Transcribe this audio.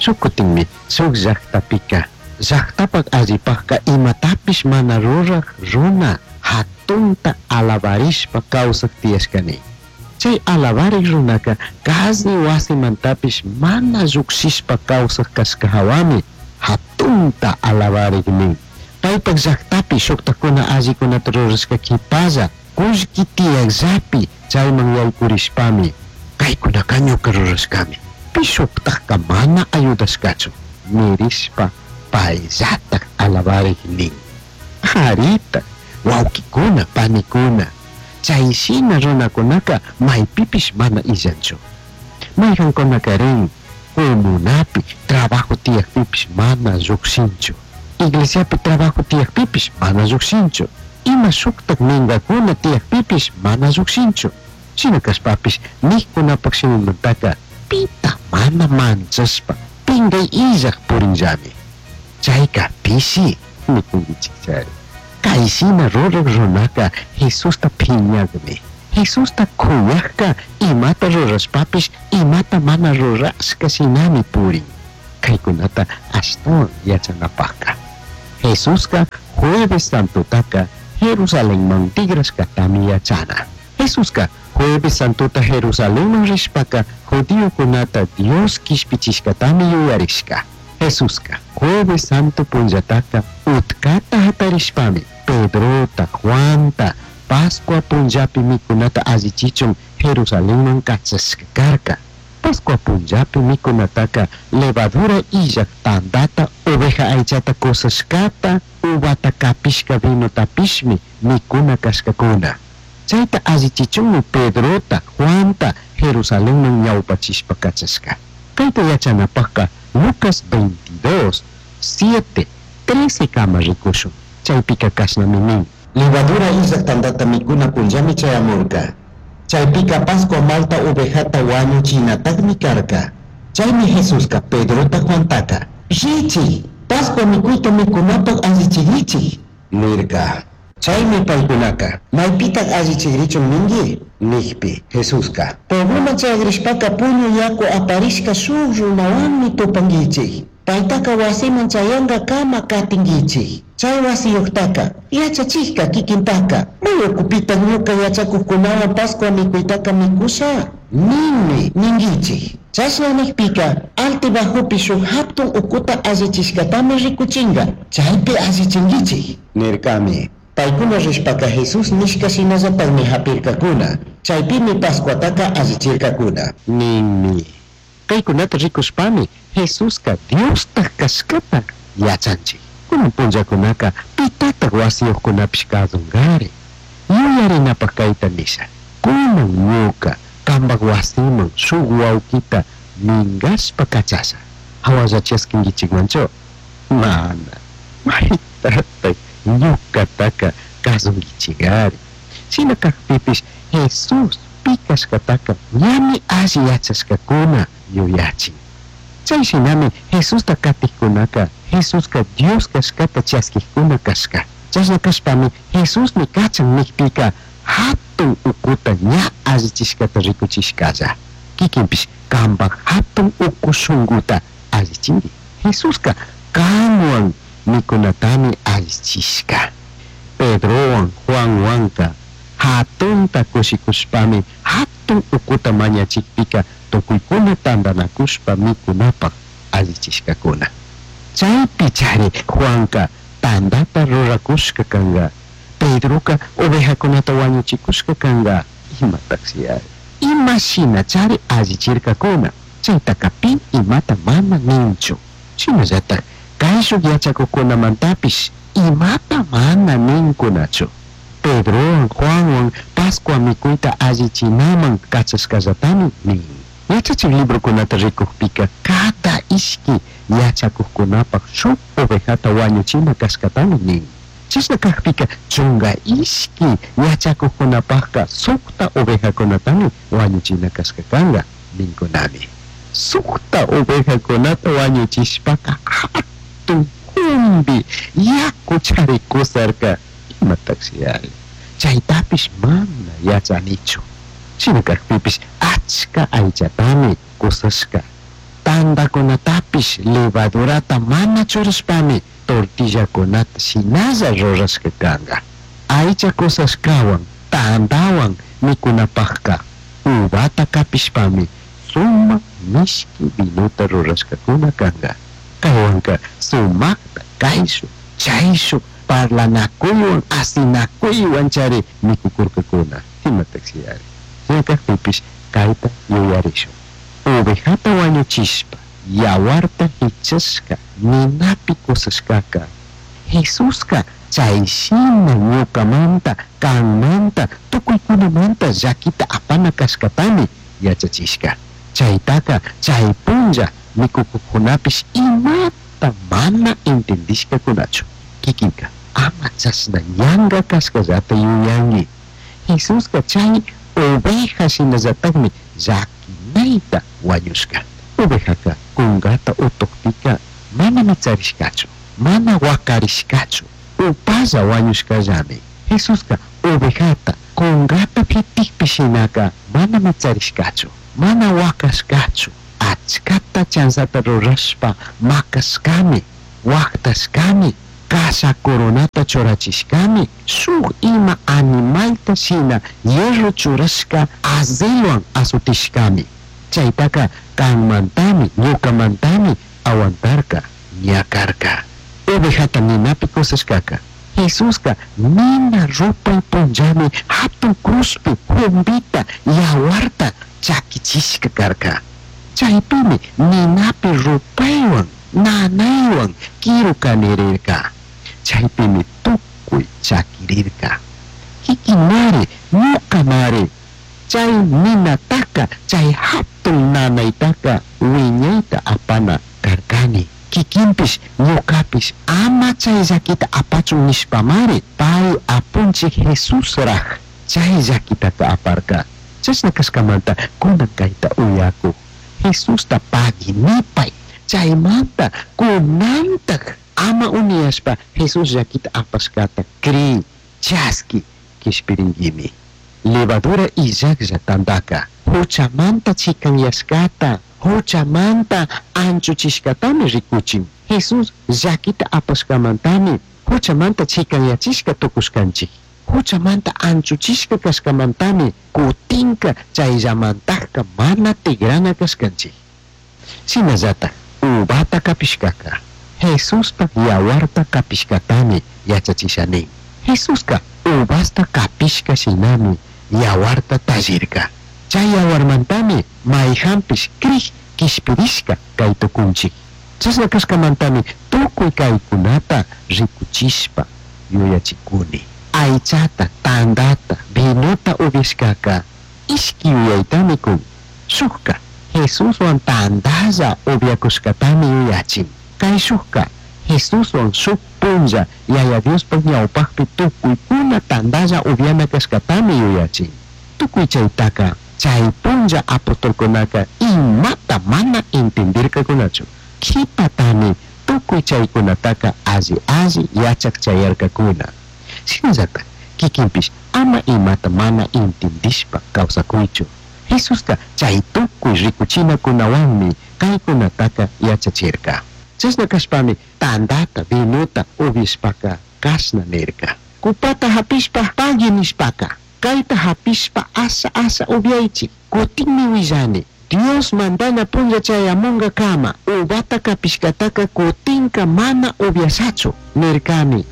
Shuj cutinmi shuj llajtapica llajtapaj allipajca imatapish mana ruraj runa jatunta alabarishpa causaj tiyashcani. Chay alabarik runaca kazi wasimantapish mana llujshishpa causaj cashca jawami jatunta alabarik nin. Paypaj llajtapi shujtajkuna allikunata rurashka qhipalla kullki tiyakllapi chayman yaykurishpami kaykunaka ñuka rurashkami pi shuktajka mana ayudashkachu nirishpa payllataj alabarik nin. Aritaj wawkikuna panikuna chay shina runakunaka maypipish mana illanchu. Mayqankunakarin comunapi trabajo tiyakpipish mana llukshinchu. Iglesiapi trabajo tiyakpipish mana llukshinchu. Ima shuktak minkakuna tiyakpipish mana llukshinchu. Shina kashpapish nijkunapaj shimimantaka pita mana manchashpa pingay illaj purinllami. Chayka pishi nikunkichikchari. Kay shina ruraj runaka Jesusta phiñakmi. Jesusta kuyajka imata rurashpapish imata mana rurashka shinami purin. Kaykunata ashtawan yachanapajka. Jesuska Jueves Santotaka Jerusalenman tigrashkatami yachana. Jesuska Jueves Santota Jerusalenman rishpaka judiokunata Dios kishpichishkatami yuyarishka. Jesuska Jueves Santo punllataka utkata hatarishpami Pedrota, Juanta, Pascua punllapi mikunata allichichun Jerusalenman kachashka karka. Pascua punllapi mikunataka levadura illaj tandata, oveja aychata kusashkata, uvata kapishka vinotapishmi mikuna kashkakuna. Chayta allichichunmi Pedrota, Juanta Jerusalenman ñawpachishpa kachashka. Kayta yachanapajka Lucas 22, 7, 13 kama rikushun. Chaypika kashnami nin. Levadura illaj tandata mikuna punllami chayamurka. Chaypika Pascua malta ovejata wañuchinatajmi karka. Chaymi Jesuska Pedrota Juantaka Richik, Pascua mikuyta mikunapaj allichigrichik nirka. Chaymi paykunaka maypitaj allichigrichun ninki nijpi Jesuska puebloman chayagrishpaka puñu yaku aparishka shuk runawanmi tupankichik. Paytaka wasiman chayankakama katinkichik. Chay wasiyuqtaka yachachikka kikintaka may ukupitaq ñuka yachakuqkunawan Pascua mikuytaka mikusha ninmi ninkichik. Chashna nijpika altibajopi shuk hatun ukuta allichishkatami rikuchinka chaypi allichinkichik nirkami. Paykuna rishpaka Jesús nishka shinallatakmi hapirkakuna chaypimi Pascuataka allichirkakuna. Ninmi. Kaykunata rikushpami Jesuska Diostaj kashkata yachanchik. Kunan punllakunaka pitataj wasiyuqkunapish kasunkari. Yuyarinapaj kayta nisha. Kunan ñuka kambaj wasiman shuk wawkita minkashpa kachasha. Hawalla chaskinkichikmanchu? Mana. Maytataj ñukataka kasunkichikari. Shina kajpipish Jesús pi kashkataka ñami alli yachashkakuna yuyachin. Chay shinami Jesusta katijkunaka Jesuska Dios kashkata chaskijkuna kashka. Chashna kashpami Jesusmi kachan nijpika hatun ukuta ña allichishkata rikuchishkalla. Kikinpish kambaj hatun uku shunkuta allichinki. Jesuska kanwan mikunatami allichishka. Pedrowan Juanwanka hatunta kushikushpami hatun ukuta mañachikpika tukuykuna tantanakushpa mikunapaj allichishkakuna. Chaypi chari Juanka tandata rurakushka kanka. Pedroka ovejakunata wañuchikushka kanka. Imatajshi ari. Ima shina chari allichirkakuna. Chaytaka pi imata mana ninchu. Shinallataj kayshuk yachakuqkunamantapish imata mana ninkunachu. Pedrowan Juanwan Pascua mikuyta allichinaman kachashkallatami nin. Yachachik librokunata rikukpika cada ishki yachakuqkunapaj shuk ovejata wañuchina kashkatami nin. Chashna kajpika chunka ishki yachakuqkunapajka sukta ovejakunatami wañuchina kashka kanka ninkunami. Sukta ovejakunata wañuchishpaka hatun jumbi yaku charikusarka imatajshi ari. Chaytapish mana yachanichu. Shina kajpipish achka aychatami kusashka. Tandacunatapish levadurata mana churashpami tortillacunata shinalla rurashca canga. Aicha cosashcahuan tandahuan micunapajca uvata capishpami sumaj mishqui vinota rurashcacuna canga. Caihuanca sumajta caishuj chaishuj parlanacuyhuan asinacuyhuan chari micucurcacuna. Imatajshiyari. Shina cajpipish caita yuyarishun. Ovejata huañuchishpa yahuarta jichashca ninapi cosashcaca Jesusca chay shina ñucamanta, canmanta, tucuicunamanta llaquita apana cashcatami yachachishca. Chaitaca chay punlla micucujcunapish imata mana entendishcacunachu. Kikinka ama chashna yanga cashcallata yuyangui. Jesusca chay oveja shinallatajmi llaquinaita huañushca. Ovejaca cungata utujpica mana mitsarishcachu, mana huacarishcachu, upalla huañushcallami. Jesusca ovejata cungata pitijpi shinaca mana mitsarishcachu, mana huacashcachu, achcata chanzata rurashpa macashcami, huajtashcami, kasha coronata churachishcami, shuj ima animalta shina hierro churashca azelwan azotishcami. Chaitaca canmantami, ñucamantami aguantarca, ñacarca. Ovejata ninapi cosashcaca Jesusca nina rupay punllami hatun cruzpi jumbita yawarta chaquichishca carca. Chaypimi ninapi rupaywan nanaywan quiru canirirca. Chaypimi tukuy chaquirirca. Kikinmari, ñucamari chay ninataka, chay hatun nanaytaka wiñayta apana karkani. Kikinpish ñucapish ama chay llaquita apachun nishpamari pay apunchik Jesusraj chay llaquitaka aparka. Chashna kashkamanta kunan kayta uyakuj Jesusta pagui nipay. Chaymanta kunantaj ama uniyashpa Jesús llaquita apashkata cri chaski kishpiringuimi. Levadura illajlla tandaka huchamanta chikanyashkata, huchamanta anchuchishkatami rikuchin. Jesús llaquita apashkamantami huchamanta chikanyachishka tukushkanchik. Huchamanta anchuchishka kashkamantami kutinka chayllamantajka mana tigrana kashkanchik. Shinallataj uvata kapishkaka Jesuspaj yawarta kapishkatami yachachisha nin. Jesuska uvasta kapishka shinami yawarta tallirka. Chay yawarmantami mayjanpish crij kishpirishka kay tukunchik. Chashna kashkamantami tukuy kaykunata rikuchishpa yuyachikuni. Aychata, tandata, vinota upyashkaka ishki yuyaytami kun. Shukka Jesuswan tandalla upyakushkatami yuyachin. Kayshukka Jesuswan shuk punlla Yaya Diospaj ñawpajpi tukuykuna tandalla upyana kashkatami yuyachin. Tukuy chaytaka chay punlla apostolkunaka imata mana entendirkakunachu. Kipatami tukuy chaykunataka alli alli yachak chayarkakuna. Shinallatak kikinpish ama imata mana entendishpa kawsakuychu. Jesuska chay tukuy rikuchinakunawanmi kaykunataka yachachirka. Chashna kashpami tandata, vinota upyashpaka kashna nirka. Kupata hapishpa pagui nishpaka, kayta hapishpa asha asha upyaychik. Kutinmi willani, Dios mandana punlla chayamunga kama, uvata kapishkataka kutinka mana upyashachu nirkami.